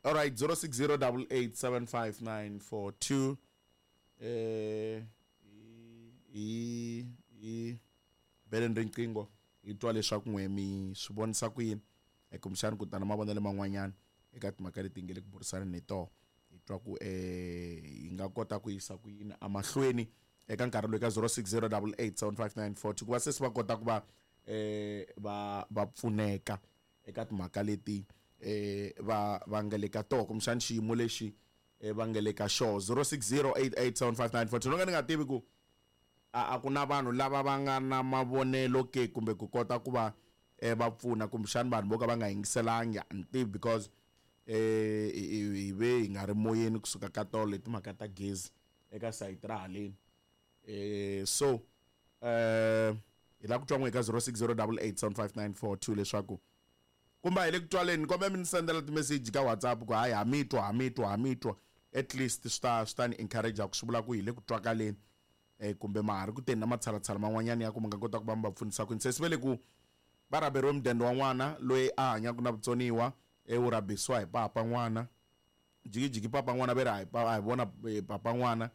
All right, 0608875942. Eh hi hi beleni riqingho hi twa leswaku n'we mi swi vonisa ku yini eh, kumbexani ku tana mavonelo man'wanyana eka timhaka leti nge le ku burisaneni hi toho hi twa ku eh hi nga kota ku yisa ku yini emahlweni eka nkarhi lowu ka 0608875942 ku va se se va kota ku va eh va va pfuneka eka timhaka leti eh va va nga le ka toho kumbexani xiyimo lexi eh, va nga le ka xoho 0608875942 no ka ni nga tivi ku a a ku na vanhu lava va nga na mavonelo ke kumbe ku kota ku va eh, va pfuna kumbexani vanhu vo ka va nga yingiselangi a ni tivi because eh hi ve hi nga ri moyeni kusuka ka tolo hi timhaka ta gezi eka sayiti ra haleni eh so eh hi lava ku twa n'we eka 0608875942 leswaku kumbe hi le ku twaleni kombe mi ni sendela timeseji ka WhatsApp ku hayi ha mi twa ha mi twa ha mi twa at least swi ta swi ta ni encourage ku swi vula ku hi le ku twakaleni eh kumbe ma ha ri ku teni na matshalatshala man'wanyana ya ku mi nga kota ku va mi va pfunisa kwini se swi ve le ku va rhaberiwe mudende wa n'wana loyi a hanyaka na vutsoniwa e wu rhabisiwa hi papa n'wana jikijiki papa n'wana ve ri a hi a hi vona eh, papa n'wana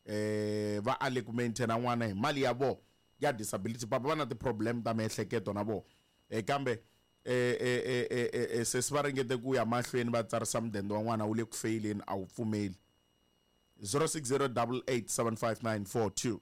eh va ale ku maintaina n'wana hi mali ya vona ya disability papa va na ti-problem ta miehleketo na vona eh kambe eh eh eh eh, eh, eh sesi va ringete ku ya mahlweni va tsarisa mudende wa n'wana wu le ku feyileni a wu pfumeli 0608875942.